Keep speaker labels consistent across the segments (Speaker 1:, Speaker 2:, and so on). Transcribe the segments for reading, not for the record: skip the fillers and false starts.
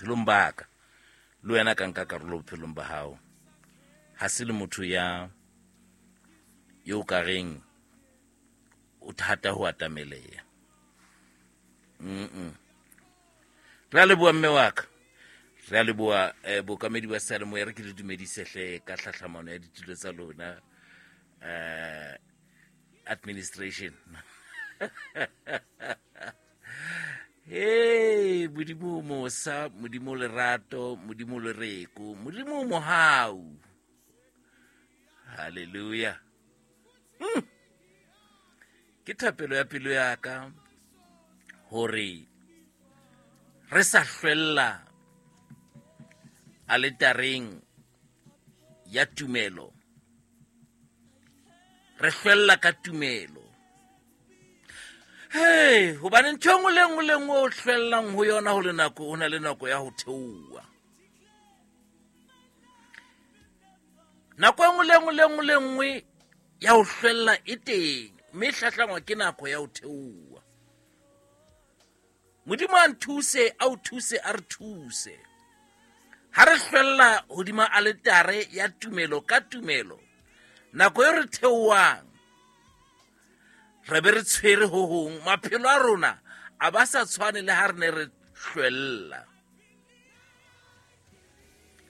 Speaker 1: Bophelong ba ka le wena ka nka karolo bophelong ba hao. Ha se le motho ya yo ka reng o thata ho atameleha. Re a leboha mme wa ka. Re a leboha bookamedi ba seyalemoya. Re ke le dumedise hle ka tlhahlamano ya ditulo tsa lona. Administration. Hey, Modimo mosa, Modimo lerato, Modimo lereko, Modimo mohau. Hallelujah. Ke thapelo ya pelo ya ka hore re sa hlwella aletareng ya tumelo, re hlwella ka tumelo. Hey, hobane ntho e nngwe le nngwe le nngwe o hlwellang ho yona ho le nako, ho na le nako ya ho theoha. Nako e nngwe le nngwe le nngwe le nngwe ya ho hlwella e teng, mme e hlahlangwa ke nako ya ho theoha. Modimo a nthuse, a o thuse, a re thuse. Ha re hlwella hodima aletare ya tumelo ka tumelo, nako e re theohang, re be re tshwere ho hong, maphelo a rona a ba sa tshwane le ha re ne re hlwella.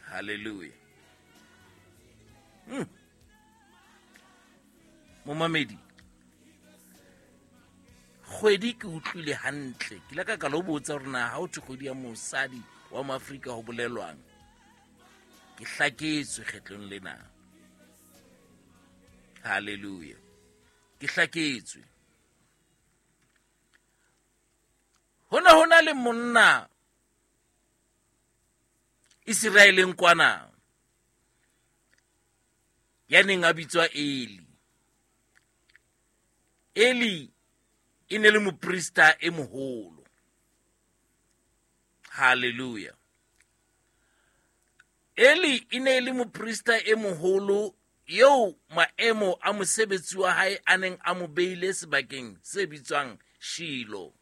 Speaker 1: Hallelujah. Momamedi, kgwedi ke utlwile hantle. Ke ile ka ka lo botsa hore na ha ho thwe kgwedi ya mosadi wa Moafrika ho bolelwang. Ke hlaketswe kgetlong lena. Hallelujah. Ke hlaketswe. Ho ne ho na le monna Iseraeleng kwana ya neng a bitswa Eli. Eli e ne le moprista e moholo. Hallelujah. Eli e ne le moprista e moholo eo maemo a mosebetsi wa hae a neng a mo beile sebakeng se bitswang Shilo.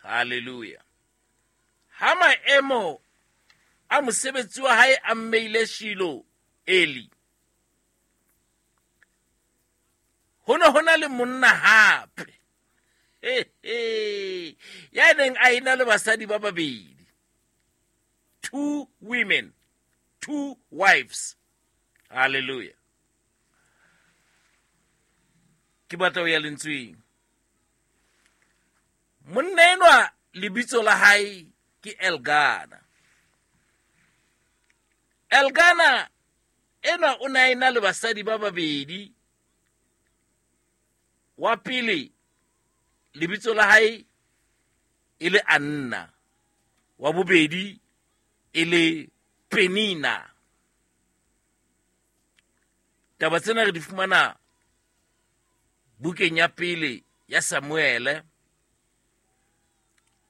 Speaker 1: Hallelujah. Ha maemo a mosebetsi wa hae a mmeile Shilo, Eli, ho ne ho na le monna hape ya neng a ena le basadi ba babedi, 2 women, 2 wives. Hallelujah. Ke batla ho ya lentsweng. Monna enwa lebitso la hae ke Elgana. Elgana enwa o ne a ena le basadi ba babedi. Wa pele lebitso la hae e le Anna, wa bobedi e le Penina. Taba tsena re di fumana bukeng ya pele ya Samuele,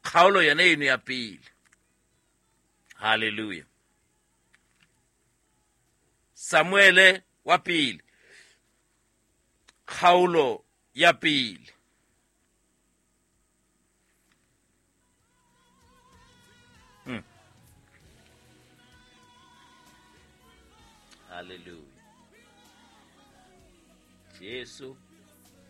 Speaker 1: kgaolo yona eno ya pele. Hallelujah. Samuele wa pele, kgaolo ya pele. Hallelujah. Jesu